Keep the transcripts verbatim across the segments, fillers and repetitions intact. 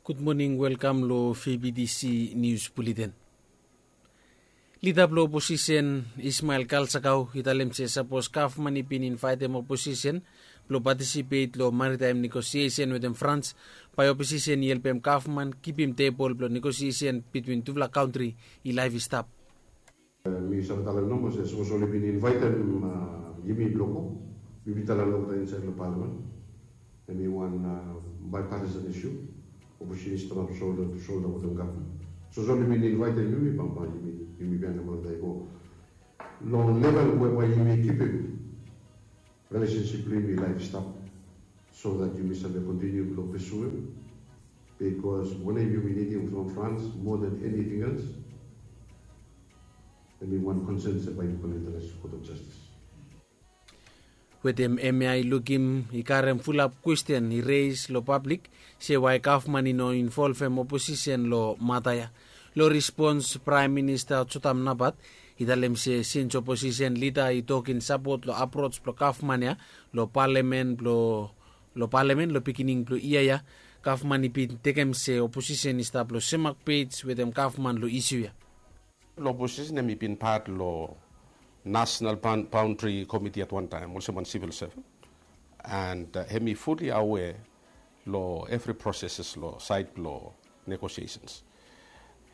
Gud moning, welkam long V B T C Nius Buleten. Lida blong oposisen Ismael Kalsakau i talem se sapos gavman i bin invaetem oposisen blong patisipet long maritaem negosiesen wetem Frans, bae oposisen i helpem gavman kipim tebol blong negosiesen bitwin tufala kantri i laef i stap. Mi save talem nomo se sapos oli bin invaetem yumi blong go, mi bin talem olgeta insaed long palamen, hemi wan bipartisan isu. Oposisen i stap solda tu solda wetem gavman. Sapos oli bin invaetem yumi, bambae yumi bianem olgeta i go long level we bae yumi kipim rilesensip blong yumi laef i stap, so that yumi save kontiniu blong pesuem. Bikos wanem yumi nidim from Frans moa than eniting els, hemi wan konsen se bae yumi kolektem long Kot of Jastis. Wetem hemia i lukim i karem fulap kwesten i reis long pablik se wae gavman i no involvem oposisen long mata ya. Long respons, Praem Minista Jotam Napat i talem se sins oposisen lida i tok in sapot long aproj blong gavman ya long palamen blong long palamen long beginning blong yia ya, gavman i bin tekem se oposisen i stap long semak pej wetem gavman long isu ya. Long oposisen hemi bin pat long National Boundary Committee at wan taem olsem wan sivil seven, and hemi fuli awea long evri proseses long saed blong negosiesens.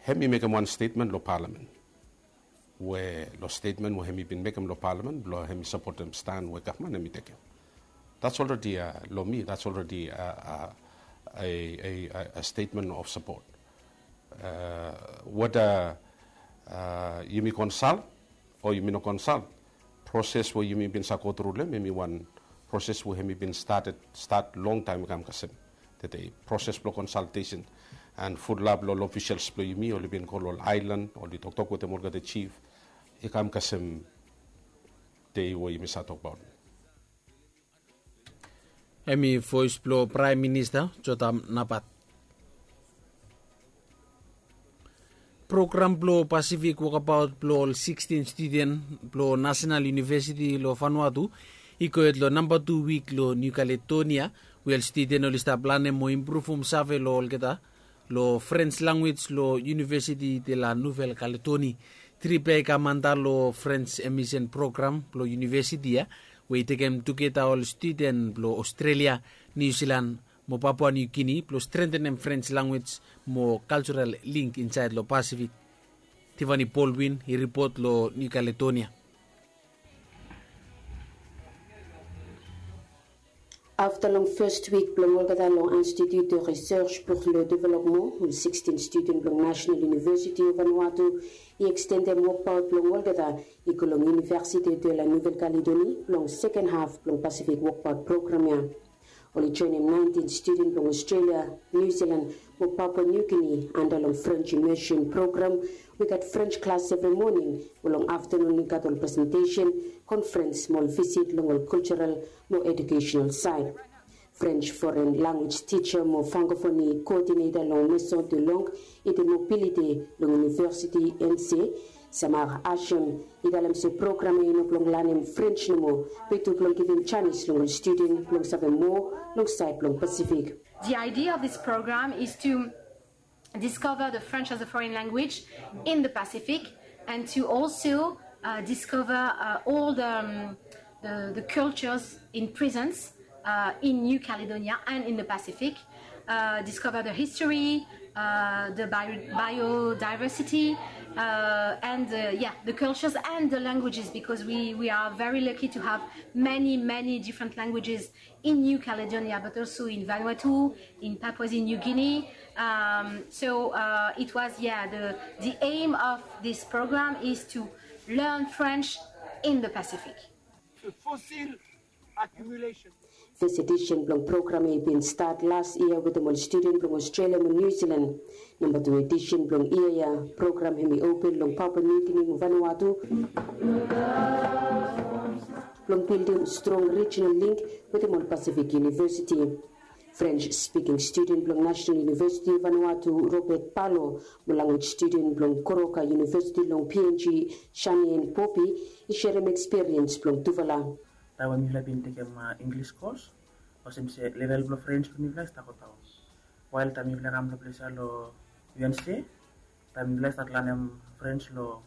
Hemi mekem wan stetmen long palamen we long stetmen we hemi bin mekem long palamen blong hemi sapotem stan we gavman hemi tekem. That's already long mi, that's already a stetmen of sapot. Weda yumi konsal o yumi no konsal, proses we yumi bin save gotru long hem hemi wan proses we hemi bin stat longtaem i kam kasem tede, proses blong konsaltesen. And fulap long ol ofisels blong yumi oli bin go long ol aelan oli toktok wetem olgeta jif, i kam kasem dei we yumi save tokbaot. Hemi voes blong Praem Minista Jotam Napat. Program blong Pasifik wokabaot blong ol sikstin studen blong Nasenal Univesiti long Vanuatu i gohed long namba tu wik long Niu Kaledonia, we ol studen oli stap lanem mo impruvum save long olgeta long Frens lanwis long Université de la Nouvelle-Calédonie. Trip ya i kam anda long Frens Immersion Program blong univesiti ya, we i tekem tugeta ol studen blong Australia, New Zealand mo Papua New Guinea blong strentenem Frens lanwis mo kaljoral link insaed long Pasifik. Tiffany Baldwin i ripot long New Caledonia. Afta long fes wik blong olgeta long Institut de Recherche pour le Développement, ol sikstin studen blong National University of Vanuatu i ekstendem wokbaot blong olgeta i go long Université de la Nouvelle-Calédonie blong seken haf blong Pasifik Wokbaot Program ya. Oli joenem naentin studen blong Australia, New Zealand mo Papua New Guinea anda long French Immersion Program, we i gat French klas evri moning, we long aftanun i gat ol presentesen, konferens mo ol visit long ol kaljoral mo ejukesenal saed. French foren lanwis tija mo Frankofoni koodineta long Maison de Langue et de Mobilité long University N C, Samar Hashem, i talem se program ya i no blong lanem French nomo, be tu blong givim janis long ol studen blong save moa long saed blong Pasifik. The idea of this program is to discover the French as a foreign language in the Pacific and to also uh, discover uh, all the, um, the, the cultures in presence uh, in New Caledonia and in the Pacific. Uh, discover the history, uh, the bio- biodiversity, uh, and uh, yeah, the cultures and the languages, because we, we are very lucky to have many, many different languages in New Caledonia, but also in Vanuatu, in Papua New Guinea. Um, so uh, it was, yeah, the, the aim of this program is to learn French in the Pacific. Fossil accumulation. Fes edisen blong program ya i bin stat las yia wetem ol studen blong Australia mo New Zealand. Namba tu edisen blong yia ya, program hemi open long Papua New Guinea mo Vanuatu blong bildim strong rijinal link wetem ol Pasifik Univesiti. French spiking studen blong Nasenal Univesiti Vanuatu, Robert Palo, mo lanwis studen blong Goroka Univesiti long P N G, Shanien Popi, i serem ekspiriens blong tufala. Taem we mifala bin tekem Inglis kos, olsem se level blong French blong mifala i stap godaon. Wael taem mifala i kam long ples ya long U N C, taem mifala i stat lanem French long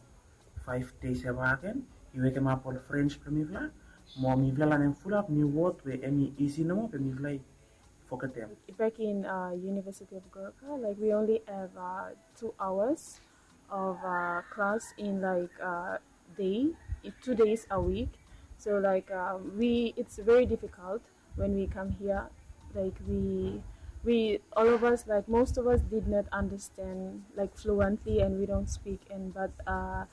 five days ya baken, i wekemap ol French blong mifala, mo mifala lanem fulap niu wod we hemi isi nomo be mifala i fogetem. Back in uh, University of Goroka, like we only have uh, two hours of uh, class in like uh, day, two days a week. So like um, we, it's very difficult when we come here. Like we, we, all of us, like most of us, did not understand like fluently, and we don't speak. And but uh,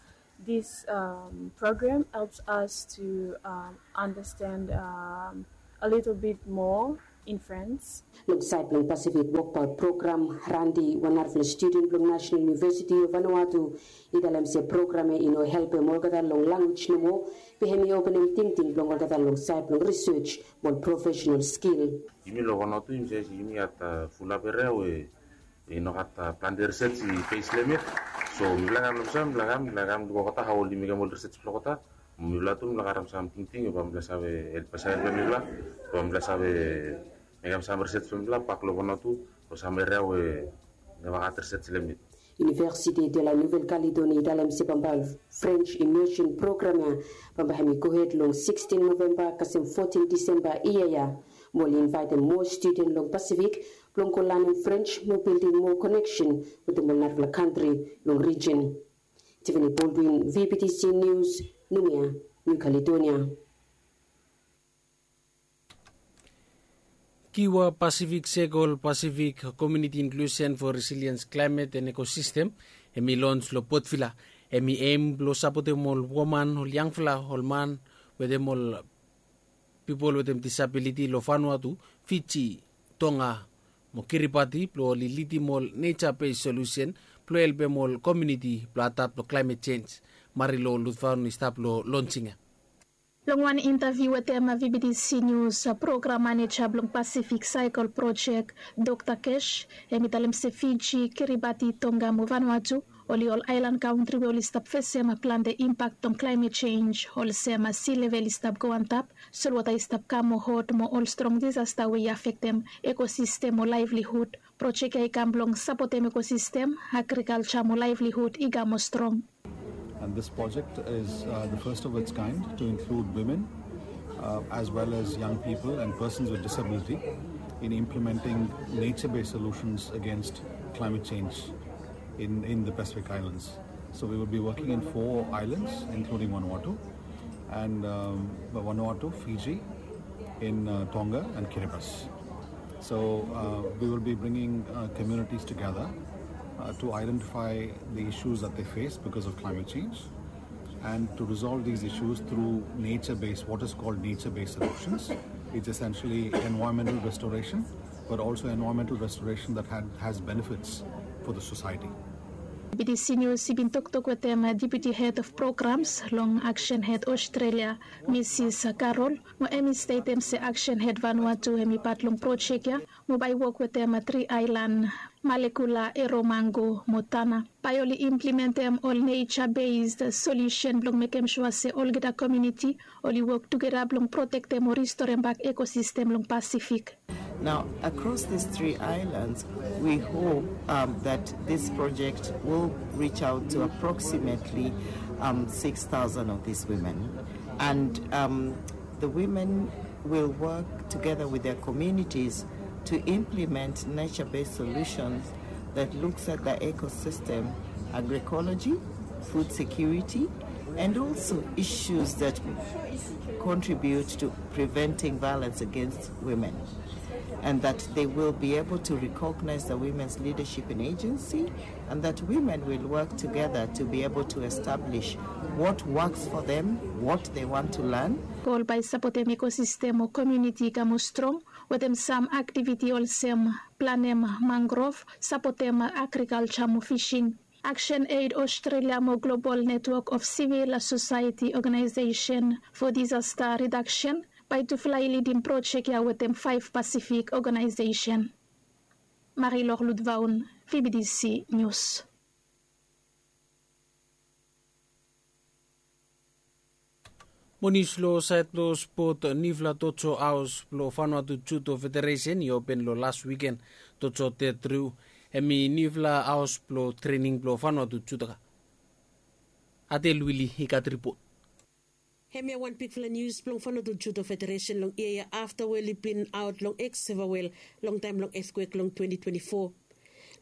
this um, program helps us to um, understand um, a little bit more in French. Long saed blong Pacific Wokbaot Program, Randi, wan narafala studen blong National University of Vanuatu, i talem se program ya i no helpem olgeta long lanwis nomo, be hemi openem tingting blong olgeta long saed blong research mo ol professional skill. Yumi long Vanuatu yumi save se yumi gat fulap eria we i no gat plante research i base long hem yet. So mifala kam long saed, mifala kam, mifala kam luk olgeta hao oli mekem ol research blong olgeta. Mifala tu mifala karem sam tingting we bae mifala save help, bae save helpem mifala, bae mifala save mekem sam research blong mifala bak long Vanuatu long sam eria we neva gat research long hem yet. University de la Nouvelle-Calédonie i talem se bambae ol French immersion program ya bambae hemi gohed long sixteen November kasem fourteen December yia ya. Mo oli invaetem moa studen long Pacific blong go lanem French mo bildim moa koneksen wetem ol narafala kantri long rijin. Tiffany Baldwin, V B T C News, Noumea, New Caledonia. Kiwa Pacific Circle, Pacific Community Inclusion for Resilience Climate and Ecosystem, hemi lons long Port Vila. Hemi aim blong sapotem ol woman, ol yangfala, ol man wetem ol pipol wetem disability long Vanuatu, Fiji, Tonga mo Kiribati blong oli lidim ol nature based solution blong helpem ol community blong adapt long climate change. Marilou Lutvaun i stap long launching ya. Long wan interview wetem V B T C News, program manager blong Pacific Circle Project, Doctor Cash, hemi talem se Fiji, Kiribati, Tonga mo Vanuatu oli ol aelan kantri we oli stap fesem plante impak blong climate change, olsem sea level i stap go antap, solwota i stap kam moa hot mo ol strong disasta we i afektem ekosistem o laevlihud. Projek ya i kam blong sapotem ekosistem, agrikalja mo laevlihud i kam moa strong. And this project is uh, the first of its kind to include women uh, as well as young people and persons with disability in implementing nature-based solutions against climate change in, in the Pacific Islands. So we will be working in four islands, including Vanuatu, and um, Vanuatu, Fiji, in uh, Tonga, and Kiribati. So uh, we will be bringing uh, communities together uh, to identify the issues that they face because of climate change and to resolve these issues through nature-based, what is called nature-based solutions. It's essentially environmental restoration, but also environmental restoration that had, has benefits for the society. B B T C News i bin toktok wetem Deputy Head of Programs long Action Aid Australia, Mrs Carol, mo hemi stetem se Action Aid Vanuatu hemi pat long projek ya, mo bae i wok wetem tri aelan, Malekula, Eromango mo Tanna. Bae oli implementem ol nature based solution blong mekem sua se olgeta komuniti oli wok tugeta blong protektem o ristorem bak ekosistem long Pacific. Now, across these three islands, we hope um, that this project will reach out to approximately um, six thousand of these women. And um, the women will work together with their communities to implement nature-based solutions that looks at the ecosystem, agroecology, food security, and also issues that contribute to preventing violence against women. And that they will be able to recognize the women's leadership and agency, and that women will work together to be able to establish what works for them, what they want to learn. Gol bae i sapotem ekosistem o komuniti i kam moa strong wetem sam aktiviti olsem planem mangrove, sapotem agrikalja mo fishing. Action Aid Australia mo Global Network of Civil Society Organization for Disaster Reduction bae tufala i lidim projek ya wetem faef Pacific organization. Marilou Lutvaun, V B T C News. Mo nius long saed blong spot, niufala tojo haos blong Vanuatu Judo Federesen i open long las wiken. Tojo tetru hem i niufala haos blong trening blong Vanuatu Judoka. Adel Wili i gat ripot. Hemia wan bigfala nius blong Vanuatu Judo Federesen long yia ya afta we oli bin aot long eksevawel long taem blong etkwek long twenti twenti fo.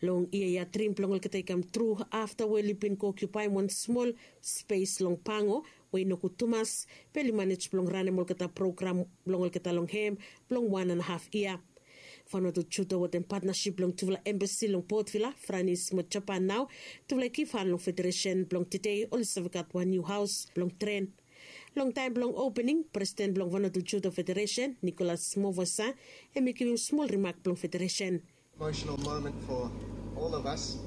Long yia ya drim blong olgeta i kamtru afta we oli bin go okiupaem wan smol spes long Pango we i no gud tumas, be oli manej blong ranem olgeta program blong olgeta long hem blong wan an haf yia. Vanuatu Judo wetem patnasip blong tufala embasi long Port Vila, Franis mo Japan nao tufala i givhan long federesen blong tede oli save gat wan niu haos blong tren. Long taem blong opening, presiden blong Vanuatu Judo Federesen, Nicolas Movasa, hem i givim smol rimak blong federesen. Emotional moment for all of us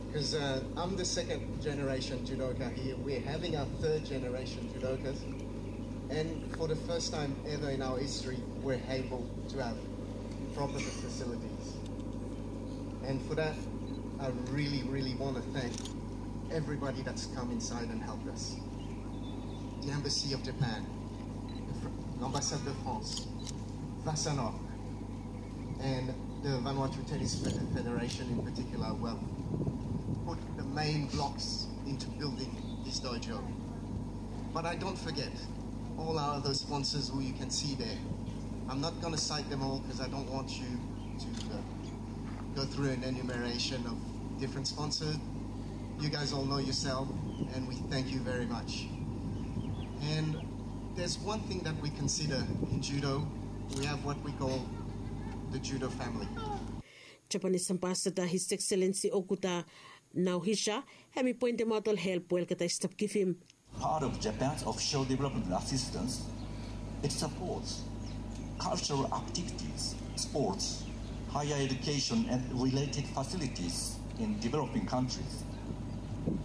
because uh, I'm the second generation judoka here. We're having our third generation judokas, and for the first time ever in our history, we're able to have proper facilities. And for that, I really, really want to thank everybody that's come inside and helped us. The Embassy of Japan, the Fr- l'Ambassade de France, Vasanov, and the Vanuatu Tennis Fed- Federation in particular, well, put the main blocks into building this dojo. But I don't forget all our other sponsors who you can see there. I'm not going to cite them all because I don't want you to uh, go through an enumeration of different sponsors. You guys all know yourself, and we thank you very much. And there's one thing that we consider in judo. We have what we call the judo family. Japanese ambassador, His Excellency Okuda Naohisa, hem i poentemaot ol help we olgeta i stap givim. Part of Japan's official development assistance, it supports cultural activities, sports, higher education, and related facilities in developing countries.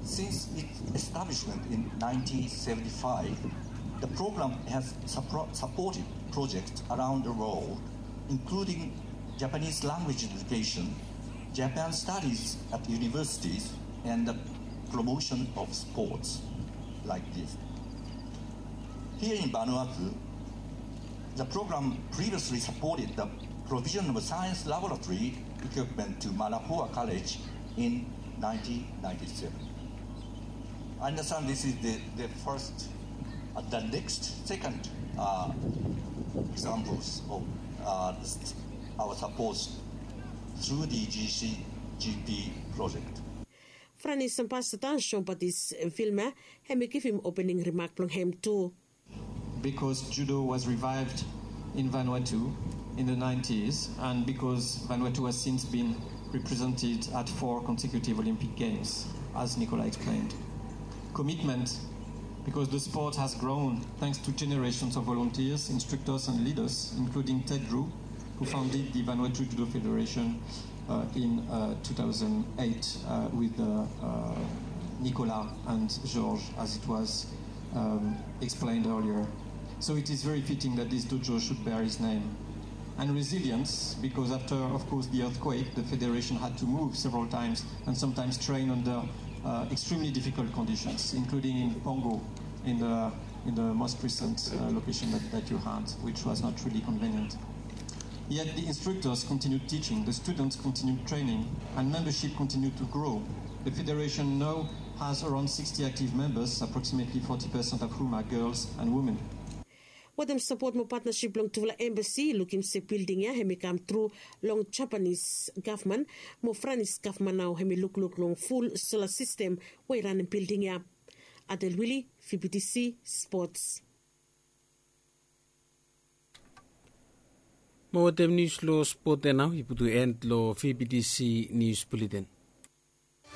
Since its establishment in nineteen seventy-five, the program has suppro- supported projects around the world, including Japanese language education, Japan studies at universities, and the promotion of sports like this. Here in Vanuatu, the program previously supported the provision of a science laboratory equipment to Manapua College in nineteen ninety-seven. I understand this is the, the first, uh, the next, second uh, examples of uh, our support through the G C G P project. Franis ambassador Jean-Baptiste Vilma hem i givim opening rimak blong hem tu. Because judo was revived in Vanuatu in the nineties, and because Vanuatu has since been represented at four consecutive Olympic Games, as Nicola explained. Commitment, because the sport has grown thanks to generations of volunteers, instructors, and leaders, including Ted Drew, who founded the Vanuatu Judo Federation uh, in uh, two thousand eight uh, with uh, uh, Nicolas and Georges, as it was um, explained earlier. So it is very fitting that this dojo should bear his name. And resilience, because after, of course, the earthquake, the Federation had to move several times and sometimes train under uh, extremely difficult conditions, including in Pongo, in the, in the most recent uh, location that, that you had, which was not really convenient. Yet the instructors continued teaching, the students continued training, and membership continued to grow. The federation now has around sixty active members, approximately forty percent of whom are girls and women. Wetem sapot mo patnasip blong tufala embasi, lukim se bilding ya hem i kam tru long Japanis gavman mo Franis gavman nao hem i lukluk long ful sola sistem we i ranem bilding ya. Adel Wili, V B T C Sports. Mo wetem nius long spot ya nao i putum en long V B T C Nius Buleten.